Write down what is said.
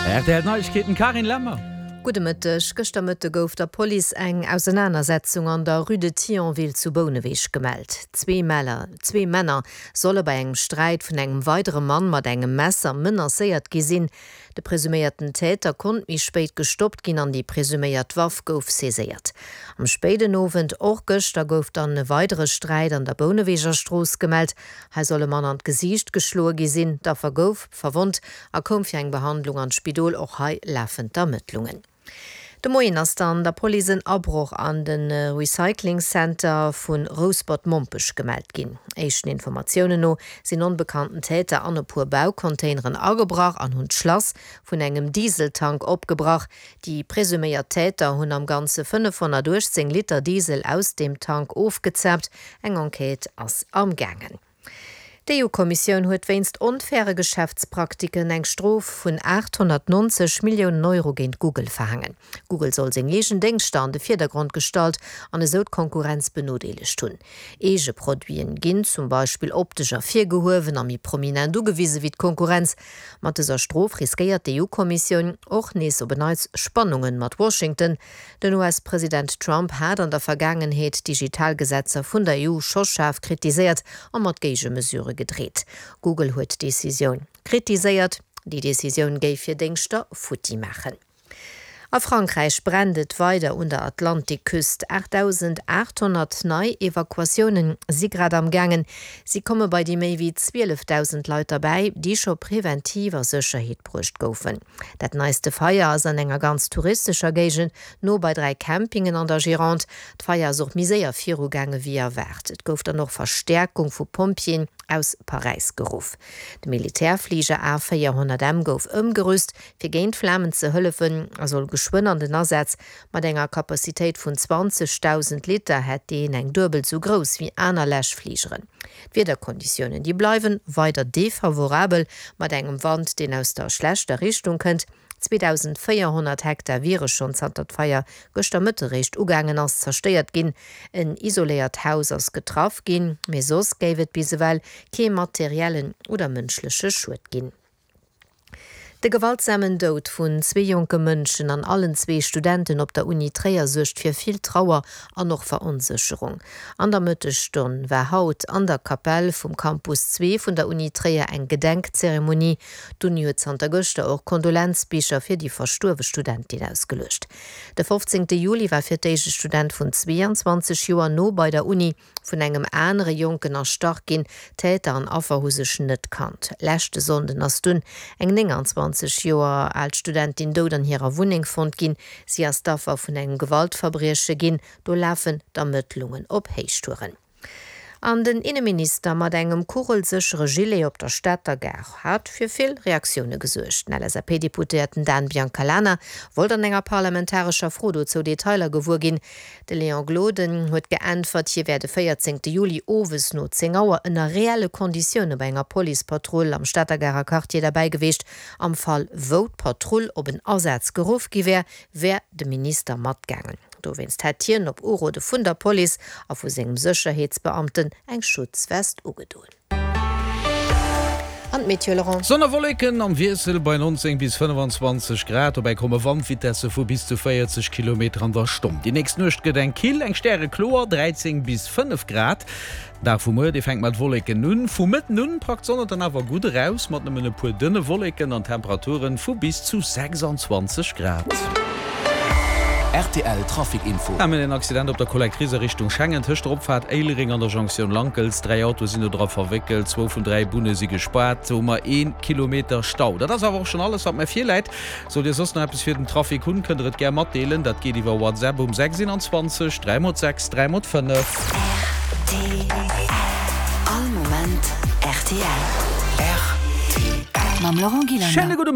Rtl Neiegkeeten, Carine Lemmer. Gudde Mëtteg. Gëschter Mëtte gouf der Police eng Ausenanersetzung an der Rue de Thionville zu Bouneweg gemellt. Zwee Männer solle bei engem Sträit vun engem weidere Mann mat engem Messer menacéiert gi sinn. De presuméierten Täter konnt méi spéit gestoppt ginn an déi presuméiert Waff gouf saiséiert. Am spéiden Owend och gëschter gouf dann e weidere Sträit an der Bouneweger Strooss gemellt. Hei soll e Mann an d'Gesiicht geschloe gi sinn. D'Affer gouf verwonnt a koum fir eng Behandlung an d'Spidol. Och hei lafen d'Ermëttlungen. De Moien ass dann der Police en Abroch an de Recycling Center vu Rouspert-Mompech gemellt ginn. Éischten Informatiounen no sinn onbekannten Täter an e puer Baucontaineren agebrach an hunn d'Schlass vun engem Dieseltank opgebrach. Déi presuméiert Täter hunn am Ganze 518 Liter Diesel aus deem Tank ofgezaapt. Eng Enquête ass am gaangen. D'EU-Kommissioun huet wéinst onfaire Geschäftspraktiken eng Strof vun 890 Milliounen Euro géint Google verhaangen. Google soll seng eegen Déngschter an de Virdergrond gestallt an esou d'Konkurrenz benodeelegt hunn. Eege Produiten ginn zum Beispill optesch ervirgehuewen a méi prominent ugewise wéi d'Konkurrenz. Mat dëser Strof riskéiert d'EU-Kommissioun och nees op en Neits Spannunge mat Washington. Den US-President Trump hat an der Vergaangenheet d'Digitalgesetzer vun der EU scho schaarf kritiséiert a mat Géigemesure gedreet. Google huet d'Decisioun kritiséiert. Déi Decisioun géif hir Déngschter futti maachen. A Frankräich brennt et weider un der Atlantikküst. 8.800 nei Evakuatioune si grad am gaangen. Si komme bei déi méi wéi 12.000 Leit derbäi, déi scho preventiv a Sécherheet bruecht goufen. Dat neiste Feier ass an enger ganz touristescher Géigend, no bei 3 Campingen an der Gironde. D'Feier ass och méi séier virugaange wéi erwaart. Et gouf dann och Verstäerkung vu Pompjeeën aus Paräis geruff. De Militärfliger A 400 M gouf ëmgerüst, fir géint d'Flamen ze hëllefen a soll geschwënn an den Asaz. Mat enger Capacitéit vun 20.000 Liter hätt deen eng duebel sou grouss wéi aner Läschfligeren. D'Wiederkonditiounen, déi bleiwen weider defavorabel, mat engem Wand, deen aus der schlechter Richtung kënnt. 2.400 Hektar wiere schonn zanter d'Feier gëschter Mëtte réischt ugaangen ass, zerstéiert ginn. En isoléiert Haus ass getraff ginn, mee soss géif et bis ewell kee materiellen oder mënschleche Schued ginn. De gewaltsamen Doud vun zwee jonke Mënschen an allen zwee Studenten op der Uni Tréier suergt fir vill Trauer an och Veronsécherung. An der Mëttesstonn war haut an der Kapell vum Campus 2 vun der Uni Tréier eng Gedenkzeremonie. D'Uni huet zanter gëschter och Kondolenzbicher fir déi verstuerwe Studentin ausgeluecht. De 15 Juli war fir d'éischt e Student vun 22 Joer no bei der Uni vun engem anere Jonken erstach ginn. Täter an Affer hu sech net kannt. Leschte Sonnden ass dunn eng 29 Joer al Studentin dout an hirer Wunneng fonnt ginn. Si ass d'Affer vun engem Gewaltverbrieche ginn. Do lafen d'Ermëttlungen op Héichtouren. An den Inneminister mat engem kugelséchere Gilet op der Stater Gare hat fir vill Reaktioune gesuergt. Den LSAP-Deputéierten Dan Biancalana wollt an enger parlamentarescher Fro dozou Detailer gewuer ginn. De Léon Gloden huet geäntwert, hie wär de 14 Juli owes no 10 Auer ënner reelle Konditioune bei enger Policepatrull am Stater Garer Quartier derbäi geweecht. Am Fall wou d'Patrull op en Asaz geruff gi wär, wär de Minister matgaangen. Dowéinst hätt hien op Urode vun der Police a vu sengem Sécherheetsbeamten eng Schutzwest ugedoen. An d'Meteo, Laurent? Sonn a Wolleken am Wiessel bei 19 bis 25 Grad. Dobäi komme Wandvitesse vu bis zu 40 Kilometer an der Stonn. Déi nächst Nuecht gëtt eng kill, eng stärekloer, 13 bis 5 Grad. Den Dag vu muer, dee fänkt mat Wolleken un. Vu Mëtten un packt d'Sonn et dann awer gutt eraus, mat nëmmen e puer dënne Wolleken an Temperaturen vu bis zu 26 Grad. Rtl Trafic Info. Mir hunn en Accident op der Collectrice a Richtung Schengen, tëscht der Opfaart Éilereng an der Jonktioun Lankels. 3 Autoe sinn do dra verwéckelt, zwou vun 3 Bunne si gespaart. Do hu mer ee Kilometer Stau. Dat ass awer och schonn alles, wat mer virläit. Sollt Dir soss nach eppes fir den Trafic hunn, kënnt der et gär matdeelen. Dat geet iwwer WhatsApp um 6 21 3 x 6 3 x 5. Rtl, All Moment rtl. Rtl. Mam Laurent Gillander. Schéine gudde.